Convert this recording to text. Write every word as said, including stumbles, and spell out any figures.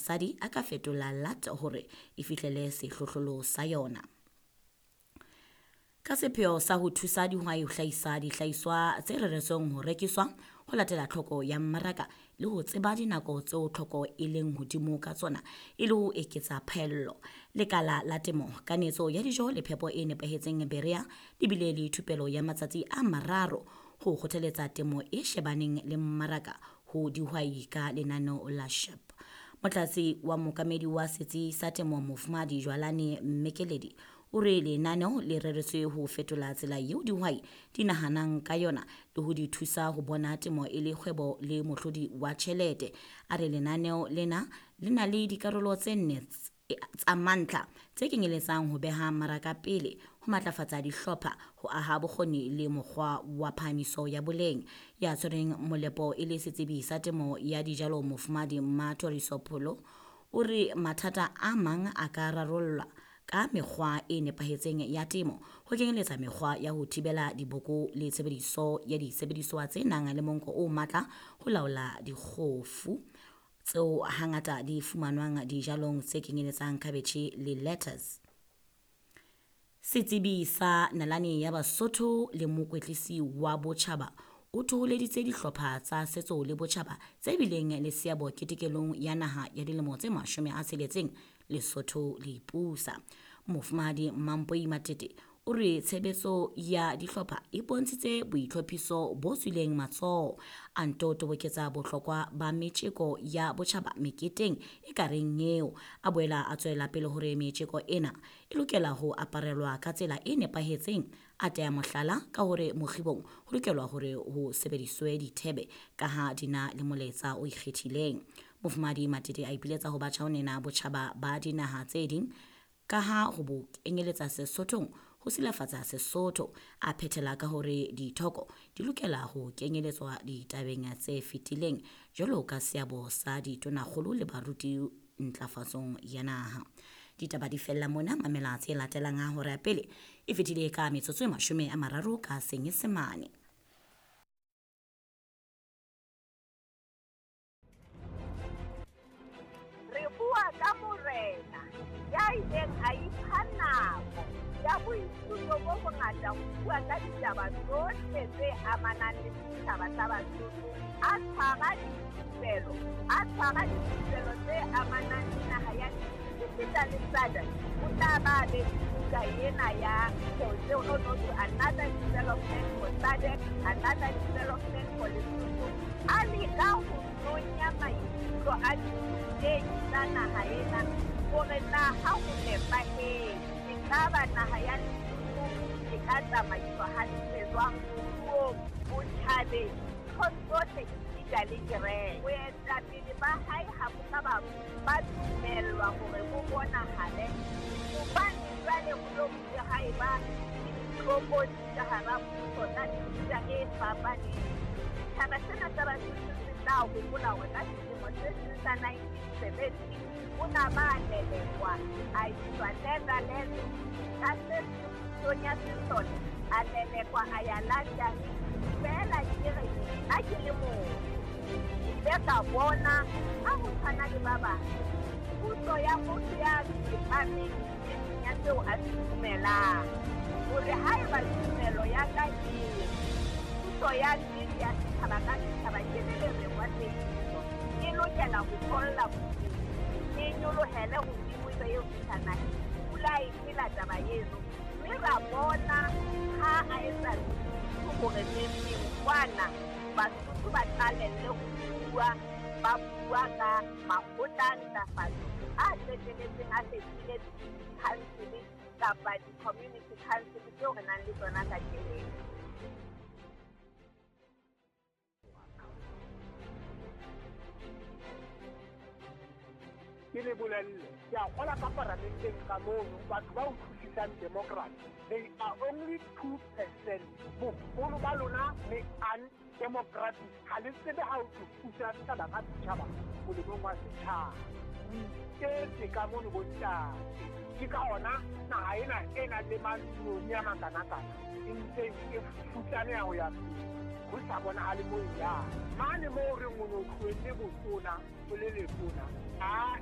basadi a ka fetola L A T hore e fihlele sehlohlolo sa yona. Ka sepheo sa ho thusa dihwai ho hlahisa dihlahiswa tse reretsweng ho rekiswa ho latela tlhoko ya mmaraka le ho tseba dinako tseo tlhoko e leng hodimo ka tsona e le ho eketsa phaello. Lekala la temo, kanetso ya dijo le phepo e nepahetseng Berea le bile le thupelo ya matsatsi a mararo ho kgothaletsa temo e shebaneng le mmaraka ho dihwai ka lenaneo la S H E P. Motlatsi wa mookamedi wa setsi sa temo Mofumahadi Jwalane Mmekeledi o re lenaneo le reretswe ho fetola tsela eo dihwai di nahanang ka yona le ho di thusa ho bona temo e le kgwebo le mohlodi wa tjhelete. A re lenaneo lena le na le dikarolo tse nne tsa mantlha tse kenyeletsang ho beha mmaraka pele, ho matlafatsa dihlopha, ho aha bokgoni le mokgwa wa phahamiso ya boleng. Ya tshwereng molepo e le setsebi sa temo ya dijalo Mofumahadi Mmathoriso Pholo o re mathata a mang a ka rarollwa ka mekgwa e nepahetseng ya temo, ho kenyeletsa mekgwa ya ho thibela diboko le tshebediso ya disebediswa tse nang le monko o matla ho laola dikgofu tseo hangata di fumanwang dijalong tse kenyeletsang khabetjhe le lettuce. Setsebi sa nalane ya Basotho le mokwetlisi wa botjhaba o thoholeditse dihlopha tsa setso le botjhaba tse bileng le seabo ketekelong ya naha ya dilemo tse mashome a tsheletseng Lesotho le ipusa. Mofumahadi Mampoi Matete o re tshebetso ya dihlopha e bontshitse boitlhophiso bo tswileng matsoho, a nto toboketsa bohlokwa ba metjeko ya botjhaba meketeng e ka reng eo. A boela a tswela pele hore metjeko ena e lokela ho aparelwa ka tsela e nepahetseng, a teya mohlala ka hore mokgibong ho lokelwa hore ho sebediswe dithebe ka ha di na le molaetsa o ikgethileng. Mofumahadi Matete a ipiletsa ho batjha ho nena botjhaba ba dinaha tse ding ka ha ho bo kenyeletsa Sesothong ho silafatsa Sesotho, a phethela ka hore dithoko di lokela ho kenyeletswa ditabeng tse fetileng jwalo ka seabo sa ditonakgolo le baruti ntlafatsong ya naha. Ditaba di fella mona, mamela tse latelang ha hora ya pele e fetile ka metsotso e mashome a mararo ka Senyesemane. Re bua ka morena ya ileng a ipha nako ya boithuto bo bongata ho bua ka ditaba tsohle tse amanang le setjhaba sa Basotho, a tshwara dithupelo, a tshwara dithupelo tse amanang le naha ya esita le S A D C. O tla ba be buka ena ya tseo no to another development for S A D C, another development for Lesotho. A leka ho nonya maikutlo a dithutehi tsa naha ena hore na ha ho nepahetse ekaba naha ya Lesotho e ka tsamaiswa hantle jwang moruong, botjhabeng, nthong tsohle esita le kereke. Boetapele ba hae ha bo ka ba ba dumellwa hore bo bonahale hobane jwale ho lo bile ha eba le ditlokotsi ka hara puso tsa mefuta e fapaneng. Setjhaba sena sa Basotho se tla hopola hore ka selemo se seng sa nineteen seventy o na ba lelekwa a iswa Netherlands ka se pusong ya sesole, a lelekwa a ya London. Feela ke re nna ke le motho ke ile ka bona ha ho tshwana le ba bang puso ya motho ya tsepameng e seng ya seo a se dumelang, hore haeba tumelo ya ka e puso ya nnete ya setjhaba ka setjhaba ke le lereng wa tsebiso e lokela ho tholla bodimo, e nyolohele hodimo ebe eo fihla naheng. Pula e phela taba eno, mme ra bona ha a etsa hore neng kwana Basotho ba qalelle ho bua, ba bua ka makgotla a ntlafatso a qetelletseng a fetohile di-council kapa di-community council tseo re nang le tsona kajeno. Ke le bolelle, ke a kgola ka paramenteng ka mono batho ba utlwisisang democracy, they are only two percent. Boholo ba lona le undemocratic, ha le tsebe ha ho thusa setjhaba ka setjhaba molemong wa setjhaba. O iketse ka mono bontate, ke ka ona naha ena e nang le mantsione a makanakana e ntseng e futsaneha ho ya pele, ho sa bonahale moo e yang. Mane moo re reng o no tlohelle botona o le letona, a